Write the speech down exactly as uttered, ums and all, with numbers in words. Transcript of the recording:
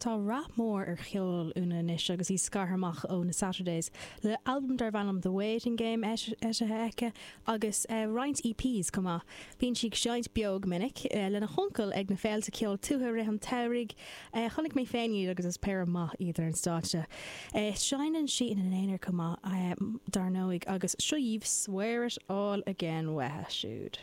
Tá rath mór ar cheol Úna anois agus í scartha amach ó na Saturdays le albam darb ainm The Waiting Game eisithe aici agus uh, roinnt EPs chomh maith. Bíonn sí ag seinnt beo go minic uh, lena huncail ag na féilte ceol tuaithe rith an tsamhraidh uh, chonaic mé féin iad agus is péire maith iad ar an stáitse. Uh, Seinneann sí ina n-aonar chomh maith uh, dar ndóigh agus seo daoibh swear it all again uaithi siúd.